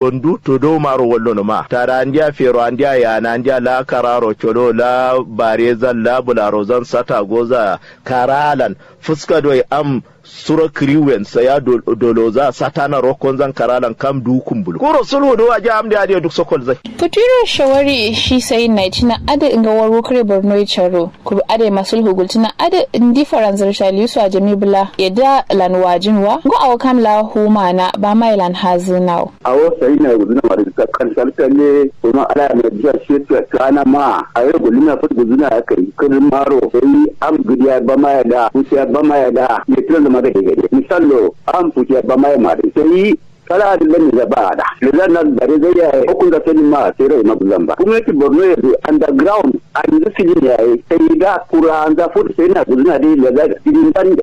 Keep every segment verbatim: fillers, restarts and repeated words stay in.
Tondu todo maro wallono ma tada andiya fero andiya yana andiya la kararo colo la barezan la bularozan sata goza karalan fuska doi am suro kiriwen saya doloza satana rokonzan karalan kam du kumbulu kuro sulhu do aja am de ade duk sokol zai. Futuro shawari shi sai na cina ade nga waro kare borno ya caro. Kuru ade masul hugultina ade ndi faranzar shaliyu su ajami bula yadda lan wajin wa ngo awo kam la huma na ba mai lan hazinawo. Awo sai na guzuna ma da kan salkalle kuma ala na jiya shi ta kana ma a yau gulina fut guzuna ya kai kirin maro sai am gidiya ba ma ya da kuciya ba ma ya da ya tiran da ma gade gade misallo am kuciya ba ma ya ma da sai kala adin lamin za ba da lezan na bare zai ya yi hukun da sanin ma sai rai ma guzan ba gwamnati borno ya zo underground an yi silin ya yi sai da kura an za fut sai na guzuna dai lezan idin dan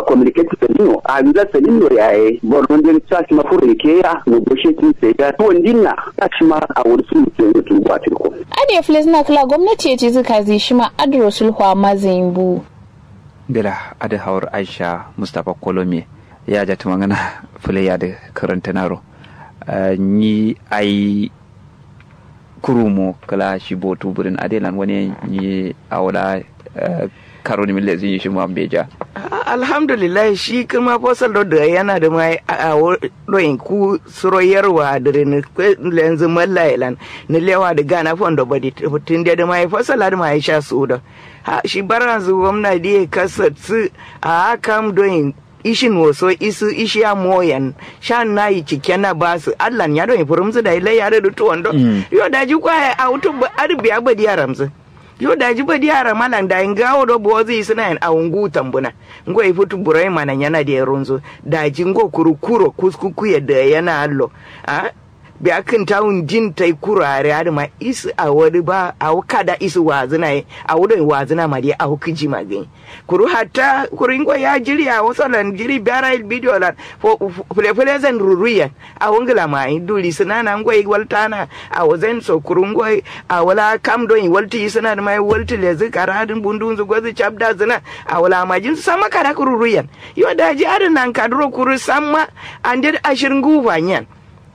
communicate salino a nza salino yaye borno den sa shi ma furo ike ya negotiating sai da tuwon dinna sa shi ma a wani sun mutum ya tuba tirko. Ade fles na kala gwamnati ya ce zuka zai shi ma adro sulhu a mazin bu. Bila ade hawar aisha mustapha kolome ya ja tumangana fule ya da karanta naro ni ai kurumo kala shi botu burin adelan wani ni awola karoni mille zin shi ma beja. Alhamdulillah shi kuma fosal do da yana da mai awo doyin ku suro yarwa dirin lenzu mallailan ni lewa da gana fondo badi tun da mai fosal da mai sha su da ha shi baranzu gwamna diye kasatsu a kam doyin ishin woso isu ishiya moyen shan nayi cikken na basu allan ya doi furumsu da ilai ya doi tuwon do yo daji kwaye a wutu adu biya badi ya ramsu yo daji badi ya ramalan da inga wodo bozi isuna yan a wungu tambuna ngo ifutu burai mana yana da runzu daji ngo kuru kuro kuskuku ya da yana allo a biya kǝn tawun din tai kuro are adǝ ma isu awo dǝ ba awo kada isu wazǝna ye awo doi wazǝna ma dǝ ye awo kǝji ma gǝnyi kuru hatta kuru ngo ya jiri awo so lan jiri biara il bidiyo lan fǝle fǝle zan ruruyen awo ngǝla ma ayi duri sǝna na ngoi waltana awo zan so kuru ngoi awo la kam doi waltǝ isǝna dǝ ma ye waltǝ lezǝ kara dǝ mbundunzǝ gozǝ cabda zǝna awo la majin samma kada kuru ruyen yo daji adǝ nan kaduro kuru samma ande dǝ ashir nguwu fanyen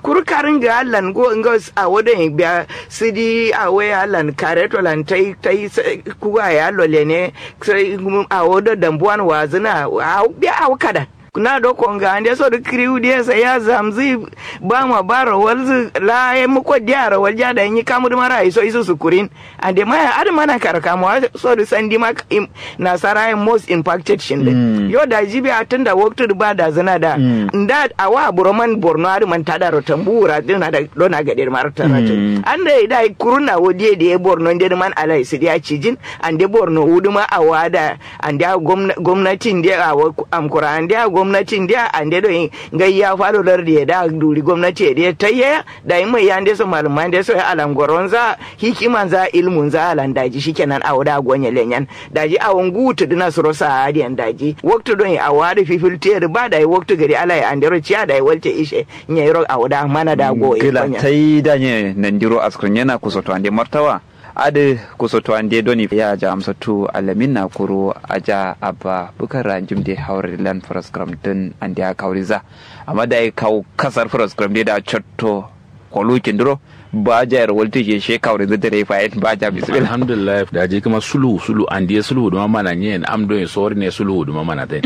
kuru karǝn gǝ allan ngo ngo awo doi biya sǝdi awo ye allan kareto lan tai tai kuwa ye allo lene sai awo do dambuwan wazǝna awo biya awo kadan na do konga ande so dǝ kǝriwu diye sai ya zamzǝ bama baro walzǝ la ye muko diya ro walja dayi nyi kamu dǝ mara iso isu sukurin ande maya adǝ mana karkamuwa so dǝ sandi ma nasara ye most impacted shinde yo daji biya tunda waktu dǝ ba dazǝna da nda awa buro man borno adǝ man tadaro tambu wura dǝna da dona gade dǝ mara taratu ande dayi kurun awo diye diye borno nde dǝ man alai sǝdiya cijin ande borno wu dǝ ma awa da ande a gomnatin de awo amkura ande a gomnatin de ande doi ngai ya falo lardi ye da duri gomnati ye de tayye ya dayi mai ya nde so malum ma nde so ya alangoronza hikimanza ilmunza alan daji shikenan awo da gonye lenyen daji awo ngu tǝdǝna suro sa adiyen daji waktu doi awo adǝ fifil tiye dǝ ba dayi waktu gari alai andero ciya dayi walte ishe nyero awo da mana da goye gila tai danye nandiro askrin yana kusoto ande martawa adǝ kusoto ande doni ya ja amsatu alamin na kuru aja abba bukar ranjim de hawar lan faraskram din ande a kawriza amma da ya kawo kasar faraskram de da cotto kolukin duro ba ja yar walti je she kawriza dare fayin ba ja bismillah alhamdulillah da je kuma sulhu sulhu ande sulhu duma mana nyen am do sori ne sulhu duma mana tai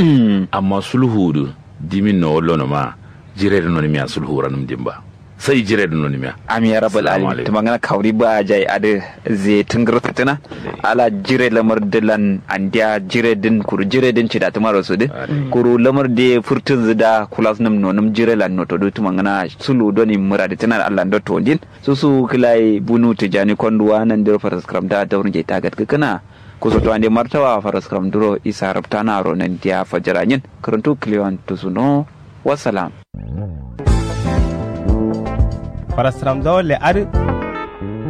amma sulhu du dimin no lono ma jire no mi sulhu ranum dimba sai jire dǝ nonimiya. Amin ya rabbal alamin. Tǝmangana kawuri ba jai adǝ ze tǝngǝr sǝtǝna ala jire lamar dǝ lan andiya jire dǝn kuru jire dǝn cida tǝmaro sudǝ kuru lamar dǝ ye furtǝnzǝ da kulasnǝm nonǝm jire lan notodǝ tǝmangana sulu doni mǝradǝ tǝna allan do tondin susu kǝlayi bunu tǝjani konduwa nandiro faraskǝram da daurǝ njaita gatgǝkǝna. Kusoto ande martawa faraskǝram duro isa rǝptanaro nandiya fajira nyin kǝrǝntu kǝlewan tusuno. Wassalam. Farasram zawalle adǝ